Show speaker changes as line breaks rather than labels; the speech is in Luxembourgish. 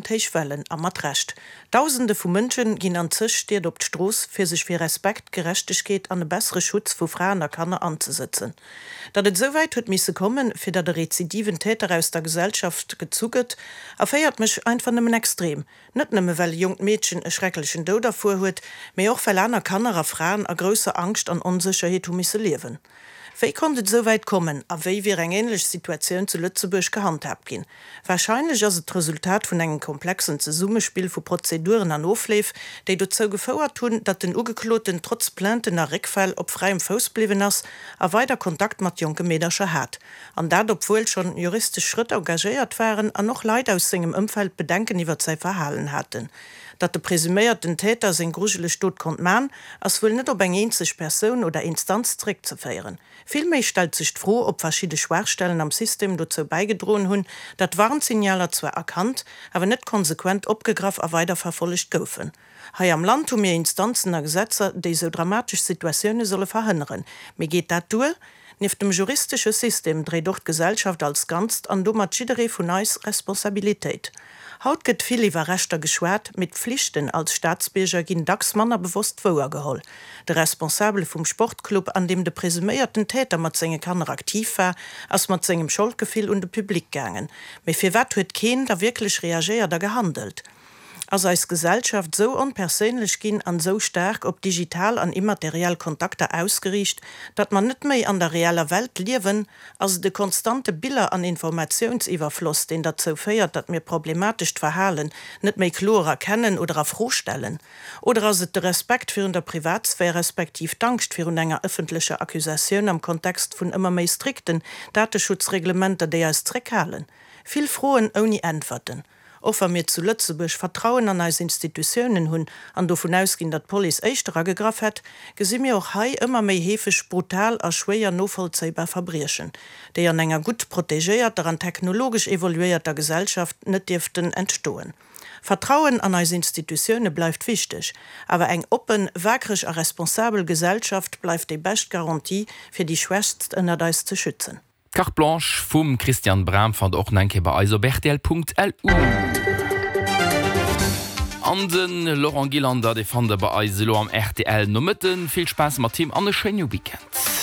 Héich Wellen, a mat Recht. Dausende vu Mënschen ginn an zeg Stied op d'Strooss, fir sech fir Respekt, Gerechtegkeet an e bessere Schutz vu Fraen a Kanner anzesëtzen. Datt et esou wäit huet misse kommen, fir datt e rezidiven Täter aus der Gesellschaft gezu gëtt, erféiert mech einfach nëmmen extrem. Net nëmme well e jonkt Meedchen e schrecklechen Doud erfuer huet, mee och well aner Kanner a Fraen a grousser Angscht an Onsécherheet hu misse liewen. Wéi konnt et esou wäit kommen a wéi wier eng änlech Situatioun zu Lëtzebuerg gehandhaabt ginn? Warscheinlech ass et d'Resultat vun engem komplexen Zesummespill vu Prozeduren an Ofleef, déi dozou gefouert hunn, datt den Ugekloten trotz Plainten a Réckfäll op fräiem Fouss bliwwen ass a weider Kontakt mat jonke Meedercher hat. An dat obwuel schonn juristesch Schrëtt engagéiert waren an och Leit aus sengem Ëmfeld Bedenken iwwert säi Verhalen haten. Datt de presuméierten Täter seng grujeleg Dot konnt man, ass wuel net op eng eenzeg Persoun oder Instanz zeréckzeféieren. Villméi stellt sech d'Fro, ob verschidde Schwaachstellen am System dozou bäigedroen hunn, datt Warnsignaler zwar erkannt, awer net konsequent opgegraff a weiderverfollegt goufen. Hei am Land hu mir Instanzen a Gesetzer, déi esou dramatesch Situatioune solle verhënneren. Mee geet dat duer? Nieft dem juristesche System dréit och d'Gesellschaft als Ganzt an domat jidderee vun eis Responsabilitéit. Haut gëtt vill iwwer Rechter geschwat, mee d'Pflichten als Staatsbierger ginn dacks manner bewosst wouergeholl. De Responsabele vum Sportclub, an deem de presuméierten Täter mat senge Kanner aktiv war, ass mat sengem Scholdgefill un de Public gaangen. Mee firwat huet keen da wierklech reagéiert a gehandelt? Ass eis Gesellschaft sou onperséinlech ginn an sou staark op digital an immateriell Kontakter ausgeriicht, datt mer net méi an der reeller Welt liewen? Ass et e konstante Biller an Informatiounsiwwerfloss, deen derzou féiert, datt mir problematescht Verhalen net méi kloer erkennen oder a Fro stellen? Oder ass et de Respekt virun der Privatsphär respektiv d'Angscht virun enger ëffentlecher Accusatioun am Kontext vun ëmmer méi strikten Dateschutzreglementer, déi eis zréckhalen? Vill Froen ouni Äntwerten. Och wa mir zu Lëtzebuerg Vertrauen an eis Institutiounen hunn an dovun ausginn, datt d'Police éischter agegraff hätt, gesi mir och hei ëmmer méi heefeg brutal a schwéier novollzéibar Verbriechen, déi an enger gutt protegéierter an technologesch evoluéierter Gesellschaft net dierften entstoen. Vertrauen an eis Institutioune bleift wichteg, awer eng oppen, waakreg a responsabel Gesellschaft bleift déi bescht Garantie, fir déi Schwächst ënnert eis ze schützen.
D'Carte Blanche vum Christian Bram fannt der och nach eng Kéier bei eis op rtl.lu. An de Laurent Gillander, dee fannt der bei eis elo am rtl Nomëtten. Vill Spaass mat him an e schéine Weekend.